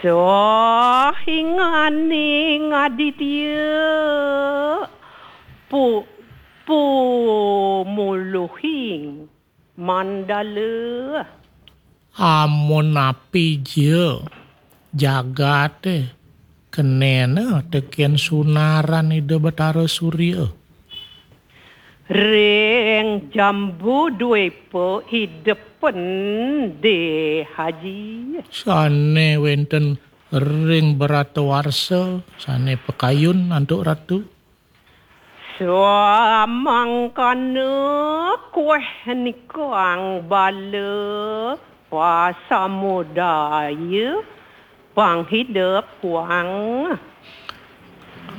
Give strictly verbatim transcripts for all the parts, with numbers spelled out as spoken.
Sahinganing aditya pu-, pumuluhing mandala. Amun napi ja jagate kenena teken sunaran Ida Betara Surya. Ring Jambu Dwepa idepen de haji. Sane wenten ring Baratawarsa, sane pakayun antuk ratu. Samangkana kueh nikang bala pasamudaya pang hidep kuang.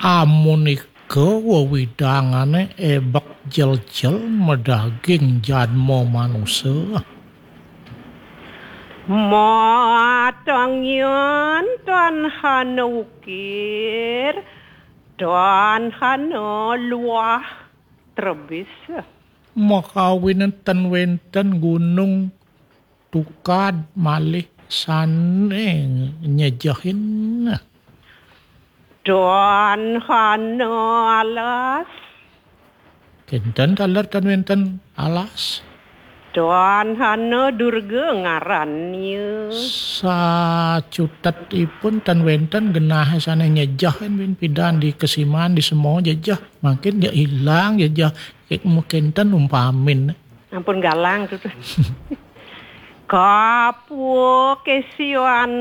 Amun ika wewidangane ebek jeljel madaging jadma manusa. Matangyan tan hana ukir, tan hana luah trebis. Makawinan tan wenten gunung tukad malih sane nyejehin. Tan hana alas. Kenten taler tan wenten alas. Tan hana Durga ngarannya. Sacutet ipun tan wenten genah sane nyejehin win pidan di kesiman di semua jejeh. Makin ja ilang jejeh. Kek mungkin ten umpamin. Ampun galang tu, tu. Kapuk isian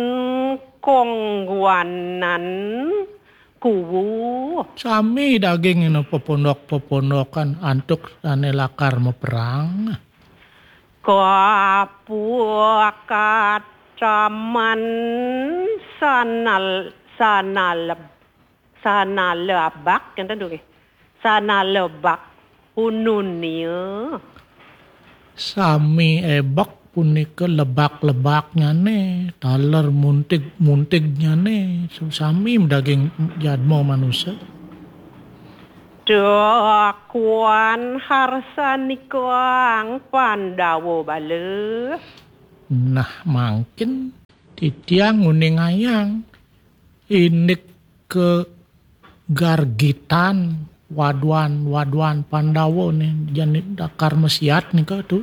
kongguanan kuwu. Sami daging ina pepondok-pepondokan antuk sane lakar meperang. Kapuk kataman sanal-, sanaleb-, sanalebak, enten tu nggih. Sanalebak ununia. Sami ebek punika lebak-lebaknyane, taler muntig-muntignyane, sami daging jadma manusa. Dakuan harsanikang Pandawa bala. Nah, mangkin titiang nguningayang indik ke gargitan waduan-waduan Pandawa ni jani dakar mesiat nika tu.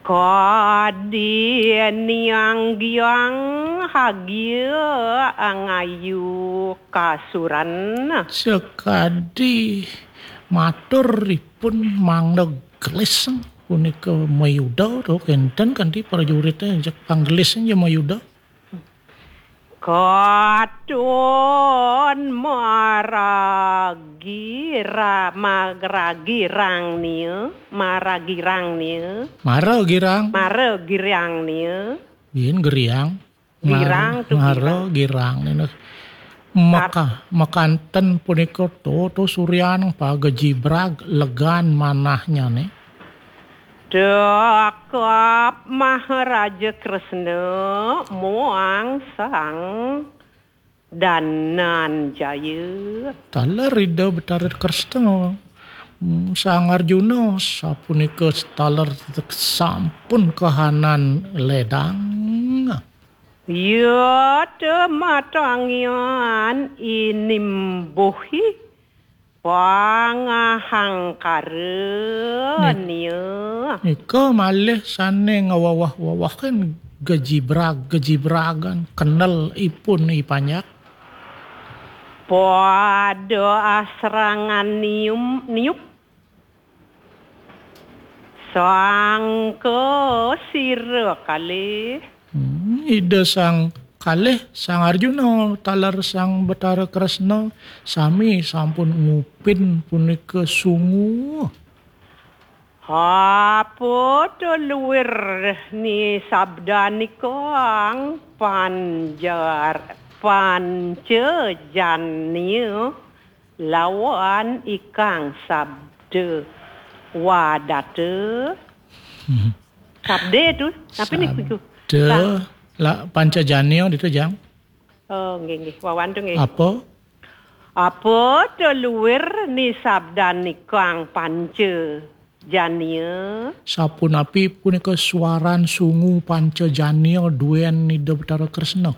Kadi niang giang hagia angayu kasuran. Sekadi matur ipun mangda gelis punika mayuda tu kenten kanti prajuritnya jak panggelis ja mayuda. Katon maragi ra-, magragirang nia, maragirang nia. Mara girang. Mara girang nia. Yen geriang. Girang tu mara girang. Girang nia. Maka-, makanten punika to, to suryan pagejibrag legan manahnyane. Dakap Maharaja Kresna muang Sang Dananjaya. Taler Ida Betara Kresna, mm, Sang Arjuna, sapunika taler sampun kahanan ledang. Yata matangyan inimbuhi pangahangkara nia. Nika malih sane ngawawah-wawahan gejibrag, gejibragan, kenel ipun i panjak. Pada asrangan nium, niup. Sangka sira kalih. Hmm, Ida Sang kalih, Sang Arjuna, taler Sang Betara Kresna, sami sampun ngupin punika sungu. Apa to luir ni sabdanikang panjar, panca jania lawan ikang sabda wadata. Hmm. Sabda tu, tapi ni kuiku. Sabda, la, panca jania ditu, Jang. Oh, nggih, nggih. Wawan tu nggih. Apa? Apa to luir ni sabdanikang panca jania? Sapunapi punika suaran sungu panca jania duen Ida Betara Kresna?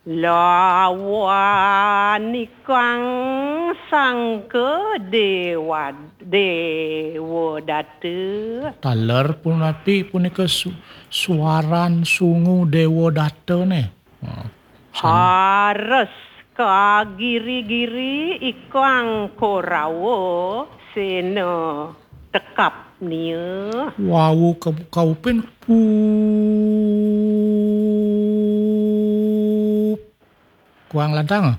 Lawan ikang sangka dewa, dewa data. Taler pun ati punika su-, suaran sungu dewa data ne. Ha, san- Hares kagiri-giri ikang Korawa sena tekap nia. Wau ka-, kaupin pup. Kuang lantang.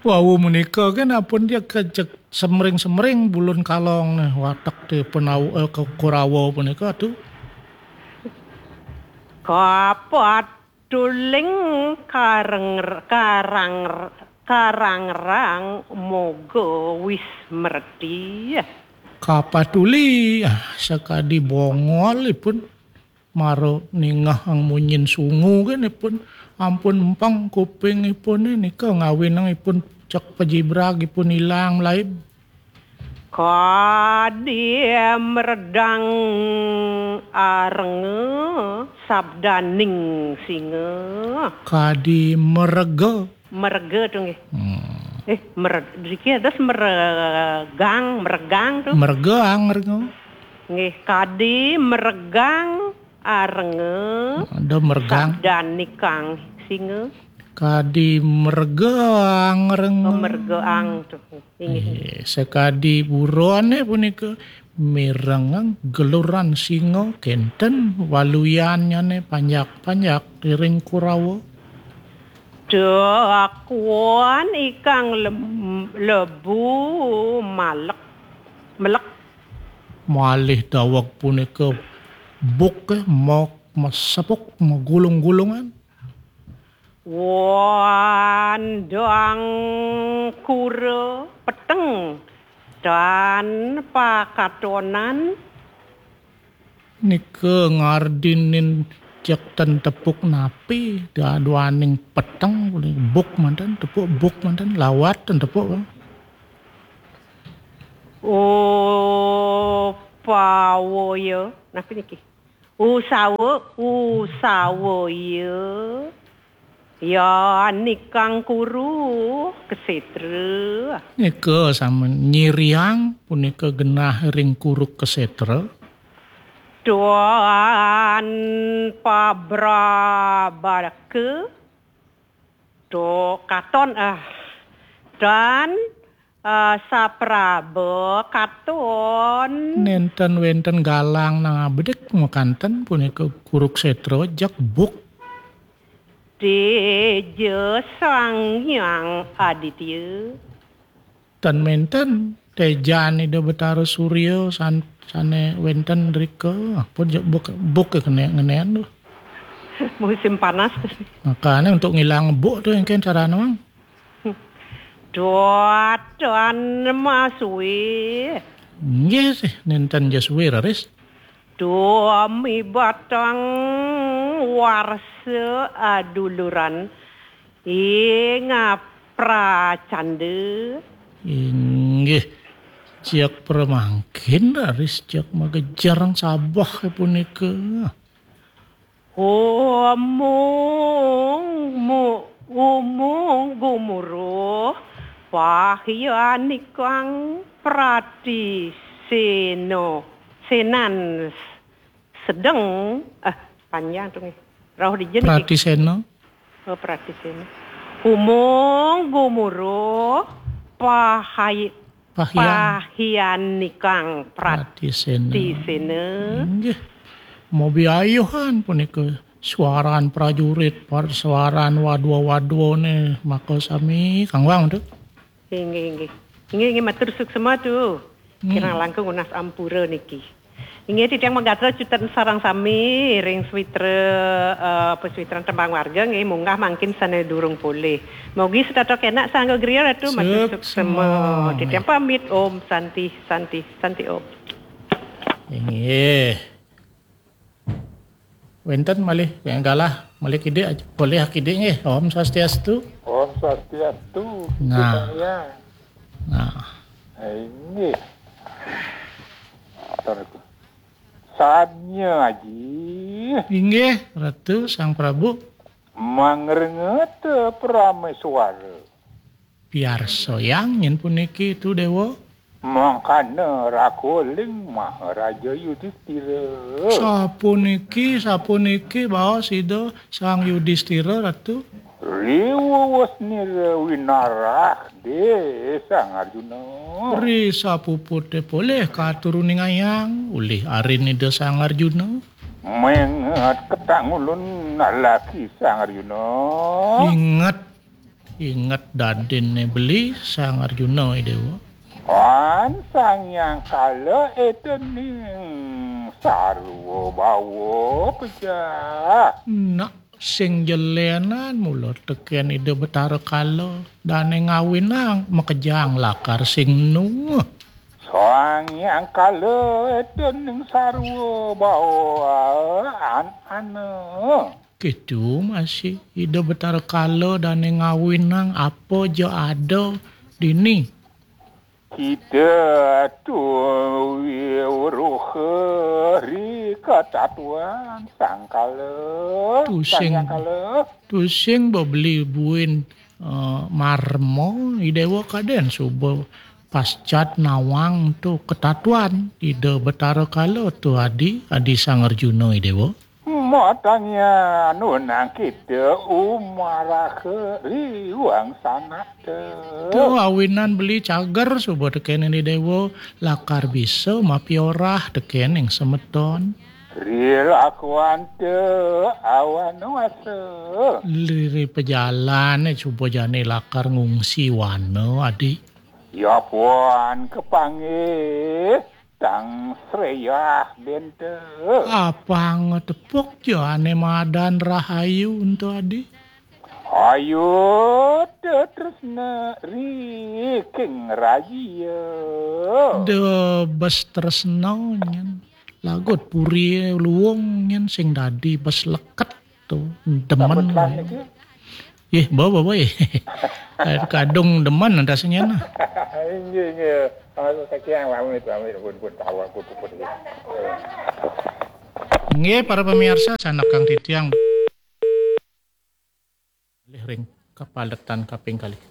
Wau menika kan apun dia kejek semring-semring bulun kalong ne watek ti penau, eh, ke Korawa punika tu. Kapat tuling kareng, karang, karangrang moga wis merti. Kapatuli, ah, sakadi bongol ipun mara ningehang munyin sungu kan ipun ampun empeng kuping ipun nika ngawinang ipun cek pajibrag ipun ilang laib. Kadi meredang arenga sabdaning singa. Kadi merega. Merega tu nggih. Hmm. Eh, mere-, driki ada meregang, meregang tu. Meregang, meregang. Nggih, kadi meregang arenga. Ada meregang. Sabdanikang singa. Kadi meregang, arenga. Oh, meregang tu. Inggih. Eh, sakadi burone punika mirengang geluran singa kenten waluyannyane panjak-panjak ring Kurawa. Dakuan ikang lem-, lebu malek, melek. Malih daweg punika buk, eh, mok mesepuk megulung-gulungan. Wandang kura peteng tan pakatonan. Nika ngardinin cek ten tepuk napi, daduaning peteng, buk manten, tepuk buk manten, lawat ten tepuk. Upawaya. Napi niki? Usawa, usawa ya. Ya nikang kuru kesetra. Nika sami nyiriang punika genah ring kuru kesetra. Tuan pabrabaka. Tu katon, ah. Dan, ah, sapraba katon. Nenten wenten galang nang abedik makanten punika Kurukshetra jeg buk. Teja Sang Hyang Aditya. Ten menten tejan Ida Betara Surya san-, sane wenten rika. Pun je buk, buk ke kene ngenen tu. Musim panas. Makane untuk ngilang buk tu engken carane, Mang. Duatan masuwe. Nggih sih, nenten ja suwe raris. Duami batang warsa aduluran ing pracanda. Inggih, jak pramangkin raris jak magejerang sabeh punika. Umung mu-, umung gumuruh pahyanikang pratiseno, senan sedeng, eh, panjang tu nggih. Rauh dija niki. Pratisena. Oh, pratisena. Umung gumuruh pahai-, Pahyan. Pahyanikang pratisena. Pratisena. Inggih. Mobi ayuhan punika suaran prajurit, par-, suaran wadwa-wadwane maka sami kangwang tu. Inggih, inggih. Inggih, inggih, matur suksema tu. Hmm. Kirang langkung nunas ampura niki. Inggih, titiang magatra cutut sareng sami ring switra, eh, paswitran tembang warga nggih, munggah mangkin sane durung polih. Mugi setata kenak sangga griya Ratu, matur suksema. Suksema. Titiang pamit, Om Santi, Santi, Santi Om. Inggih. Wenten malih, yang galah, malih kidik aja. Boleh kidik nggih. Om Swastiastu. Om Swastiastu. Nah. Saya. Nah. Inggih. Sanya Aji. Inggih, Ratu Sang Prabu. Mangrenget Prameswara. Piarsayang nyen puniki tu Déwa. Mangkana rakuling Maharaja Yudistira. Sapuniki, sapuniki baos Ida Sang Yudistira, Ratu. Riwuwus nira winarah dé Sang Arjuna. Ri sapuputé polih katuruning ayang, ulih arin Ida Sang Arjuna. Menget ketangulun laki Sang Arjuna. Inget, inget dadiné beli Sang Arjuna, I Déwa. An Sang Hyang Kala étening sarwa bawa pejah. Nak sing jelénan mula tekén Ida Betara Kala, dané ngawinang makejang lakar sing nu. Sang Hyang Kala étening sarwa bawa an ana. Kitu masih Ida Betara Kala dané ngawinang apa ja ada dini. Kita tu wiruha ri katatuan Sang Kala. Tusing, Sang Hyang Kala. Tusing bebeli buin, eh, marma, I Déwa kadén suba pascat nawang tu katatuan Ida Betara Kala tu adi, adi Sang Arjuna, I Déwa. Matanya nunang kita umaraha riwang sanata. Tu awinan beli cager suba tekén I Déwa lakar bisa mapiorah tekén ing semeton. Rilakuan te awan wasa. Liri pejalané suba jani lakar ngungsi wana, adi. Ya puan kapanggih tang sreyah benta. Apang tepuk ja ané madan rahayu ento adi. Ayu tetresna riking raja. Da bes tresna nyen. Lagut puri luung nyen sing dadi bes leket tu. Demen. Takut lah niki. Yeh, bawa, bawa, yeh. Kadung demen rasanya nah. Inggih, inggih. Awas saking pamit, pamit, pun, pun, tawa, pun, pun, pun. Nggih, para pemirsa, sanak kang titiang. Malih ring kapaletan kaping kalih.